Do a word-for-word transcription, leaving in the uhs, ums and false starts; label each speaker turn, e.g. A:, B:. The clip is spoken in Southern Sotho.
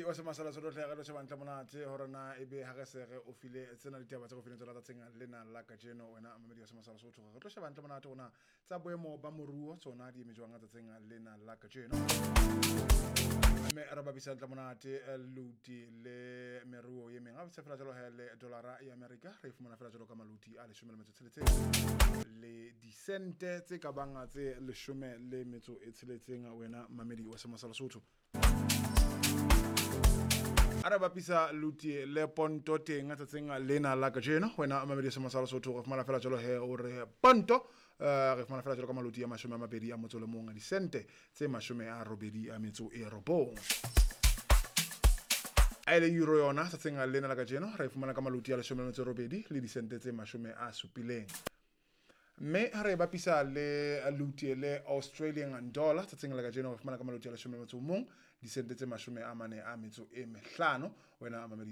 A: Mamedi wa semasala Sotho, hle re tlo sheba ntle monate hore na ebe ha re se re o file tsena ditaba tse go fileng tsona tsatsing lena la kajeno. Wena mamedi wa semasala Sotho, re tlo sheba ntle monate hore na tsa boemo ba moruo tsona di eme jwang tsatsing lena la kajeno, mme re bapisa ntle monate eh, luti le meruo ye meng. A bapisa fela jalo he le dollara ya America, re e fumana fela jalo ka maluti a leshome le metso e tsheletseng le disente tse ka bang tse leshome le metso e tsheletseng. Wena mamedi wa semasala Sotho, a re bapisa luti le ponto teng tsatsing lena la kajeno. Wena mamedi wa semasala Sotho, re fumana fela jalo he o re ponto eh, re fumana fela jalo ka maluti a mashome a mabedi a motso le mong a disente tse mashome a robedi a metso e robong. A e leng euro yona tsatsing lena la kajeno re e fumana ka maluti a leshome le metso e robedi le disente tse mashome a supileng. Mme ha re e bapisa le luti le Australian dollar tsatsing la kajeno, re fumana ka maluti a leshome le metso o mong disente tse mashome a mane a metso e mehlano. Wena mamedi.